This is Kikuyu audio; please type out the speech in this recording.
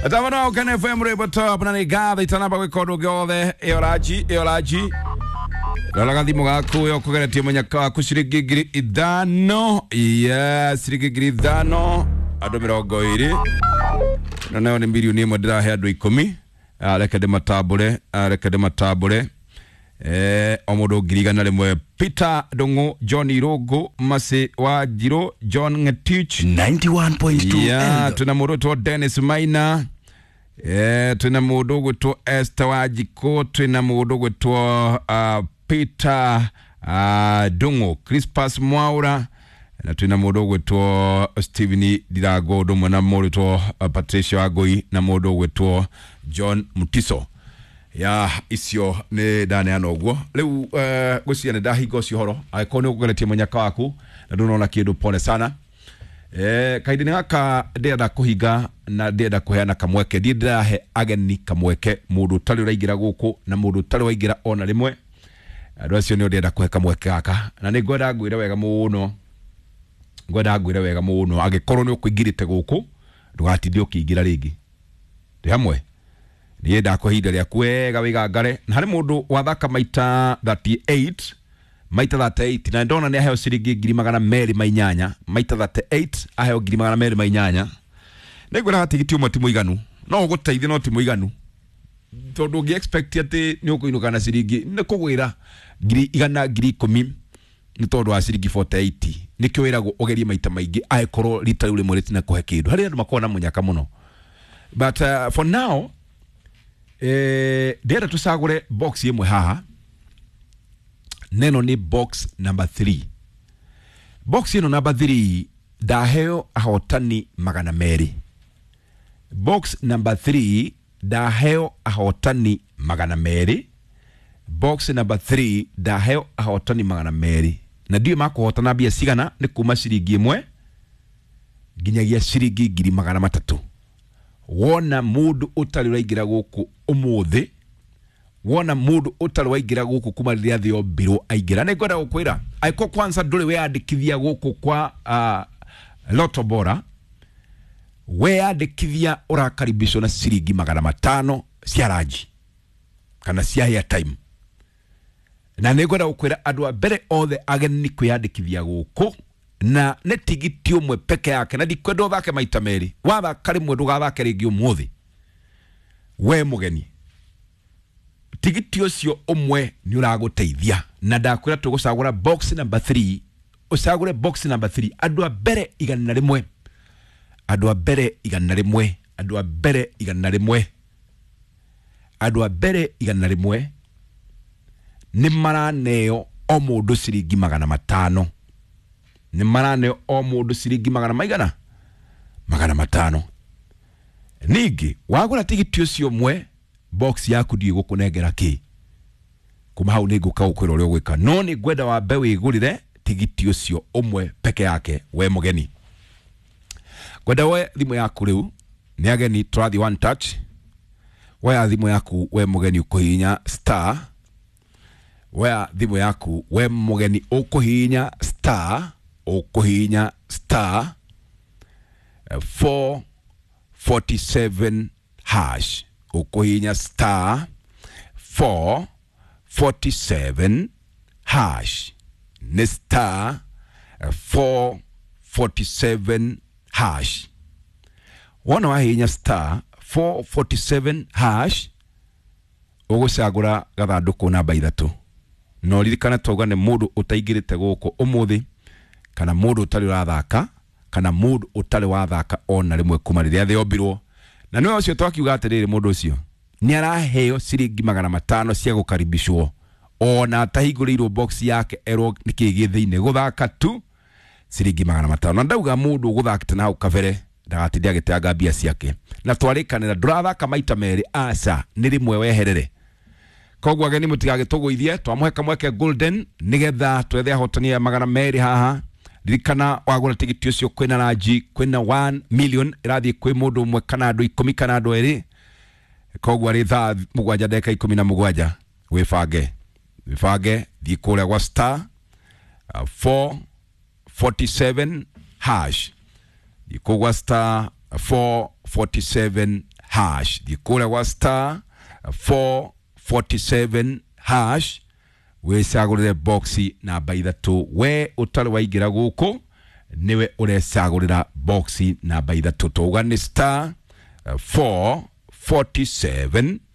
Atamano Ukene FM rwĩmbo top na nĩ ngatho itanamba gwĩka ũndũ ũngĩ wothe. Ĩyo ranji, ĩyo ranji, rora gathimũ gaku ĩyo kũgeretie mũnyaka waku ciringi 5,000. Yes, ciringi 5,000 andũ 20, na nayo nĩ 1,000,000 ndĩrahe andũ 10. Reke ndĩmatambũre, reke ndĩmatambũre. O mũndũ 100,000. Peter Ndung'u, John Irũngũ, Masi wa Njirũ, John Ngetich 91.2. Yeah, Eldoret. twĩna mũndũ ũgwĩtwo Dennis Maina, twĩna mũndũ ũgwĩtwo Esther Wanjikũ, twĩna mũndũ ũgwĩtwo Peter Ndung'u, Crispas Mwaura, na twĩna mũndũ ũgwĩtwo Stephen Ndirango, ũndũ ũmwe na mũndũ ũgwĩtwo Patricia Wangũi na mũndũ ũgwĩtwo John Mutiso. Ya icio nĩ ndaneana ũguo rĩu. Ngwĩciria nĩ ndahinga ũcio ũhoro. Angĩkorwo nĩ ũkũgeretie mũnyaka waku na ndũnona kĩndũ, pole sana. Kahinda-inĩ gaka ndĩrenda kũhinga na ndĩrenda kũheana kamweke, ndiĩ ndĩrahe ageni kamweke, mũndũ ũtarĩ ũraingĩra gũkũ na mũndũ ũtarĩ waingĩra ona rĩmwe. Andũ acio nĩo ndĩrenda kũhe kamweke gaka, na nĩ ngwenda ngwĩre wega mũno, ngwenda ngwĩre wega mũno, angĩkorwo nĩ ũkũingĩrĩte gũkũ ndũgatinde ũkĩingĩra rĩngĩ. Ndĩ hamwe niĩ ndakũhe ihinda rĩaku wega wĩgangare. Na harĩ mũndũ wathaka maita 38, maita 38, na ndona nĩ aheo ciringi 208,000. Maita 38 aheo 208,000. Nĩ ngwĩra tigiti ũmwe ti mũiganu, no ũgũteithie no ti mũiganu, tondũ ũngĩ expect atĩ nĩ ũkũinũka na ciringi nĩ kũgwĩra 100,000, 10,000 nĩ tondũ wa ciringi 48. Nĩkĩo wĩragwo ũgerie maita maingĩ angĩkorwo rita rĩu rĩmwe rĩtina kũhe kĩndũ. Harĩ andũ makoragwo na mũnyaka mũno, but for now ndĩrenda tũcagũre box ĩmwe haha. Neno nĩ box number 3. Box ĩno number 3 ndaheo ahotani 200. Box number 3 ndaheo ahotani 200. Box number 3 ndaheo ahotani 200, na ndiũĩ makũhotana mbia cigana. Nĩ kuma ciringi 1 nginyagia ciringi 300,000. Wona mũndũ ũtarĩ ũraingĩra gũkũ ũmũthĩ, wona mũndũ ũtarĩ waingĩra gũkũ kuma rĩrĩa thĩ yombirwo aingĩra, nĩ ngwenda gũkwĩra angĩkorwo kwanza ndũrĩ weyandĩkithia gũkũ kwa Lotto Bora, weyandĩkithia ũrakaribishwo na ciringi 500 cia ranji kana cia airtime. Na nĩ ngwenda gũkwĩra andũ a mbere othe ageni kwĩyandĩkithia gũkũ na nĩ tigiti ũmwe peke yake, na ndikwenda ũthake maita merĩ. Wathaka rĩmwe ndũgathake rĩngĩ ũmũthĩ we mũgeni. Tigiti ũcio ũmwe nĩ ũragũteithia, na ndakwĩra tũgũcagũra box number 3. Ũcagũre box number 3, andũ a mbere 100, andũ a mbere 100, andũ a mbere 100, andũ a mbere 100 nĩ maraneo o mũndũ ciringi 500. Nĩ maraneo o mũndũ ciringi magana maigana? 500. Ningĩ wagũra tigiti ũcio ũmwe, box yaku ndiĩ gũkũnengera kĩ. Kuma hau nĩ ngũka gũkwĩra ũrĩa ũgwĩka, no nĩ ngwenda wambe wĩgũrĩre tigiti ũcio ũmwe peke yake we mũgeni. Ngwenda we thimũ yaku rĩu, nĩ ageni tũrathiĩ one touch. Woya thimũ yaku we mũgeni, ũkũhihinya star. Woya thimũ yaku we mũgeni, ũkũhihinya star, ũkũhihinya star 447 hash, ũkũhihinya star 447 hash, nĩ star 447 hash. Wona wahihinya star 447 hash, ũgũcagũra gathandũkũ namba 3. No ririkana twauga nĩ mũndũ ũtaingĩrĩte gũkũ ũmũthĩ, kana mũndũ ũtarĩ ũrathaka, kana mũndũ ũtarĩ wathaka ona rĩmwe kuma rĩrĩa thĩ yombirwo. Na nĩwe ũcio twakiuga atĩrĩrĩ, mũndũ ũcio nĩ araheo ciringi 500 cia gũkaribishwo ona atahingũrĩirwo box yake erwo nĩkĩ gĩ thĩinĩ. Gũthaka tu ciringi 500. Na ndauga mũndũ ũgũthakĩte na hau kabere ndagatinde agĩteanga mbia ciake. Na twarĩkanĩra ndũrathaka maita merĩ, aca, nĩ rĩmwe weherere. Koguo ageni mũtigagĩtũgũithie, twamũhe kamweke golden nĩgetha twethe ahotani aya 200 haha. Ririkana wagũra tigiti ũcio kwĩna ranji, kwĩna 1 million ĩrathiĩ kwĩ mũndũ ũmwe kana andũ 10 kana andũ 2. Koguo arĩ thaa 7 ndagĩka 17, wĩbange, wĩbange, thiĩ kũrĩa gwa star 447 hash, thiĩ kũu gwa star. 447 hash. Thiĩ kũrĩa gwa star 447 hash wĩcagũrĩre boxi namba 3. We ũtarĩ waingĩra gũkũ nĩwe ũrecagũrĩra boxi namba 3. Twauga nĩ star 447.